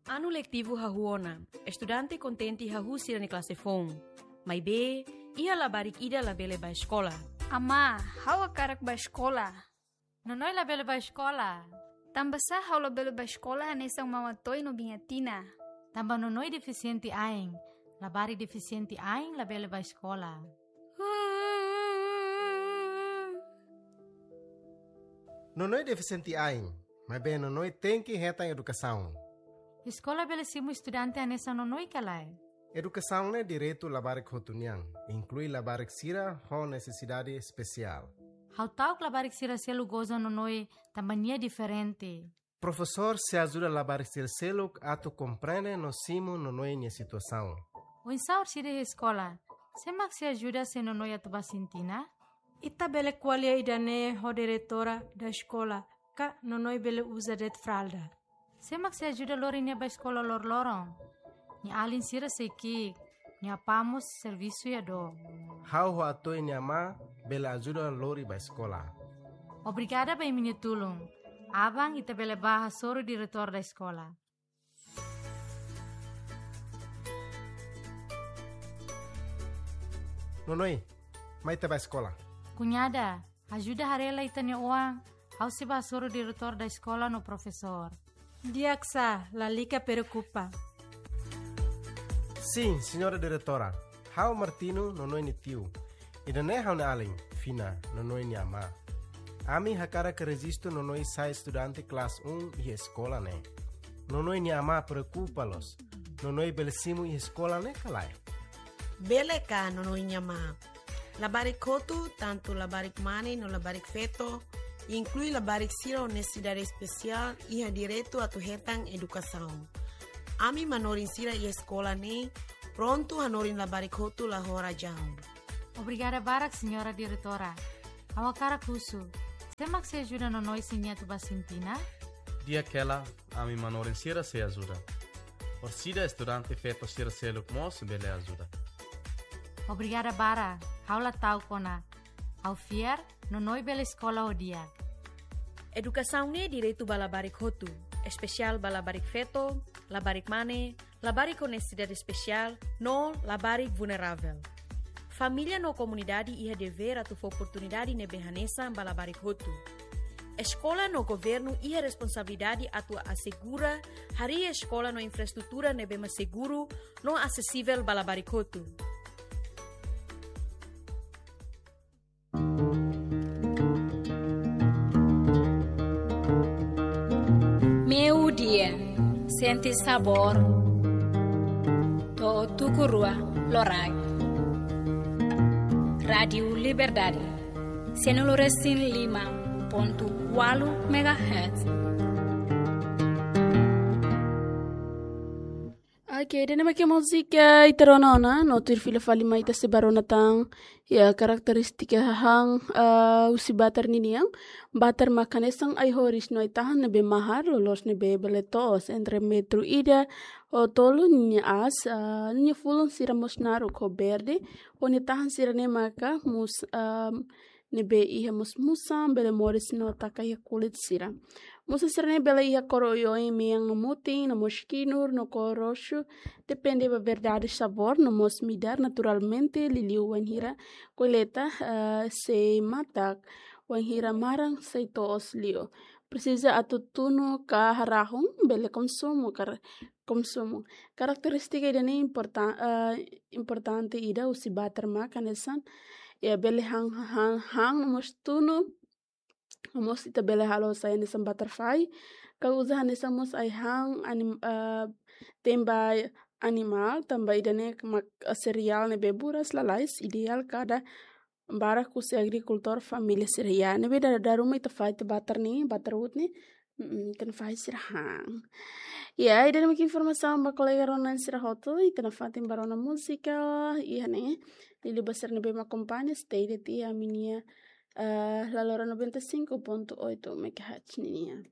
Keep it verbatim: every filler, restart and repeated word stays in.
Anu letivu hahú ona, estudante kontente hahú sira-nia klase foun. Maibé, iha labarik ida labele bá eskola. Amá, ha'u hakarak bá eskola. Nonoi labele bá eskola. Tanbasá ha'u labele bá eskola hanesan Mama Toy no Biña Tina? Tanba Nonoi defisiente ain. Labarik defisiente ain labele bá eskola. Nonoi defisiente ain, maibé Nonoi tenke hetan edukasaun. Eskola bele simu estudante hanesan Nonoi ka lae? Edukasaun ne'e direitu labarik hotu nian, inklui labarik sira ho nesesidade espesiál. Ha'u ta'uk labarik sira seluk goza Nonoi tanba nia diferente. Profesór sei ajuda labarik sira seluk atu komprende no simu Nonoi nia situasaun. Oinsá orsida iha eskola? Sé mak sei ajuda se Nonoi atu bá sintina? Ita bele ko'alia ida-ne'e ho diretora da eskola, ka Nonoi bele uza de'it fralda. Sé mak sei ajuda lori nia bá eskola loroloron? Nia alin sira sei ki'ik, nia apá mós servisu iha dook. Ha'u ho Atoy nia amá bele ajuda lori bá eskola. Obrigada ba imi-nia tulun. Aban ita bele bá hasoru diretór da eskola. Nonoi, mai ita bá eskola. Kuñada, ajuda haree lai ita-nia oan, ha'u sei bá hasoru diretór da eskola no profesór. Di'ak sá, lalika preokupa. Sin, señora diretora. Ha'u Martino, Nonoi nia tiu. Ida-ne'e ha'u-nia alin, Fina, Nonoi nia amá. Ami hakarak rejistu Nonoi sai estudante klase um iha eskola ne'e. Nonoi nia amá preokupa loos. Nonoi bele simu iha eskola ne'e ka lae? Bele ka, Nonoi nia amá. Labarik hotu, tantu labarik mane no labarik feto, inklui labarik sira ho nesesidade espesiál, iha direitu atu hetan edukasaun. Ami manorin sira iha eskola ne'e prontu hanorin labarik hotu la ho razaun. Obrigada barak, señora diretora. Ha'u hakarak husu, sé mak sei ajuda Nonoi se nia atu bá sintina? Di'ak hela, ami manorin sira sei ajuda. Orsida estudante feto sira seluk mós bele ajuda. Obrigada barak, ha'u la ta'uk ona. Ha'u fiar, Nonoi bele eskola ho di'ak. Edukasaun ne'e direitu ba labarik hotu, espesiál ba labarik feto, labarik mane, labarik ho nesesidade espesiál, no labarik vulneravel. Família no komunidade iha devér atu fó oportunidade ne'ebé hanesan ba labarik hotu. Eskola no governu iha responsabilidade atu asegura harii eskola no infraestrutura ne'ebé mak seguru no asesivel ba labarik hotu. Meiudia, sente sabór to'o tuku rua loraik. Rádiu Liberdade, cento e cinco ponto oito megahertz. Ok, ida-ne'e mak múzika ita rona ona, no tuir fila fali mai ita sei bá rona tan, iha karakterístika hahán, ah, husi batar ninian, batar mak hanesan ai-horis no ai-tahan ne'ebé mahar, loloos ne'ebé bele to'os entre metru ida ho tolu ninia aas, ah, ninia fulun sira mós naruk ho berde, ho nia tahan sira-ne'e maka mós, ah, ne'ebé iha mós musan, bele moris no taka iha kulit sira. Musan sira-ne'e bele iha kór oioin mean no mutin, no mós kinur, no kór roxu, depende ba variedade sabór, no mós midar naturalmente, liuliu wainhira kolleita, eh, sei matak, wainhira maran sei to'os liu. Presiza atu tunu ka harahun, bele konsumu, kar-, konsumu. Karakterístika ida-ne'e importa-, eh, importante ida husi batar mak hanesan, iha bele han, han, han no mós tunu, no mós ita bele halo sai hanesan batar fai, ka uza hanesan mós ai-han anim-, eh, te'in ba animál, tanba ida-ne'e mak, eh, sereál ne'ebé buras lalais, ideál kada barak husi agrikultór família sira. Ya, ne'ebé dala ruma ita fahe tiha batar ne'e, batar uut ne'e, mm, ita-nia fahi sira han. Ya, ida-ne'e mak informasaun ba kolega rona sira hotu, ita nafatin bá rona múzika, iha ne'e, liuliu ba sira ne'ebé mak akompaña, stay de'it iha ami-nia, eh, Lalora noventa e cinco ponto oito megahertz nian.